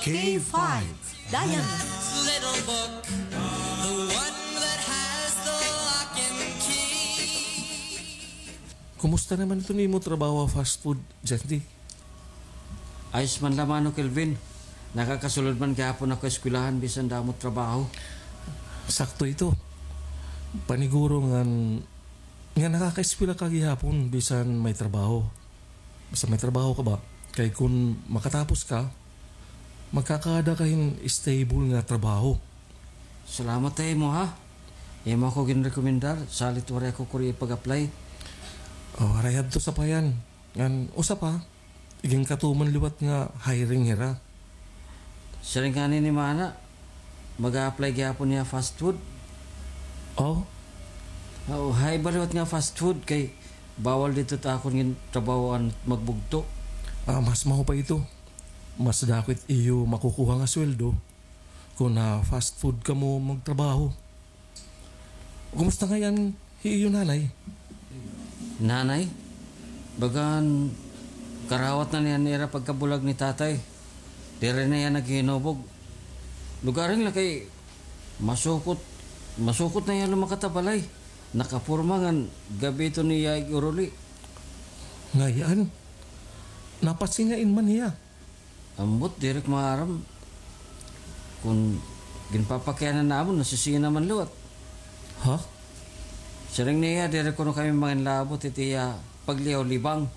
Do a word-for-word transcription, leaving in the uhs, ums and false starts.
K five, Dayan. Little book, the one that has the lock and key. Kumusta naman iton imo trabaho ha fast food, Jandy? Ayos man la, Mano Kelvin. Nakakasulod man gihapon ako ha eskwelahan bisan damo trabaho. Sakto ito. Paniguro ngan nga nakakaeskwela ka gihapon bisan may trabaho. Basta may trabaho ka ba? Kay kun makatapos ka, magkakaada ka hin stable nga trabaho. Salamat ha imo, ha. Imo ako ginrekomendar, salit waray ako kuri ipag-apply. O, waray hadto sapayan. Ngan usa pa, iginkatuman liwat nga hiring hira. Siring ngani ni Mana, mag-a-apply gihapon hiya fast food. O? O, hay ba liwat nga fast food kay bawal didto ha akon gintrabahoan magbugto. Ah, mas maupay ito. Mas dako it iyo makukuha nga sweldo kun ha fast food kamo magtrabaho. Kumusta ngay-an hi iyo nanay? Nanay? Bagan karawat na niya nira pagkabulag ni tatay. Diri na hiya naghihinubog. Lugaring la kay masukot, masukot na hiya lumakat ha balay. Nakaporma ngan gab-i ito niya ig-uruli. Ngay-an? Napasingain man hiya? Ambot, diri ko maaram. Kun ginpapakiana namon, nasisina man liwat. Ha? Siring niya, diri kuno kami manginlabot hit iya pagliyaw-libang.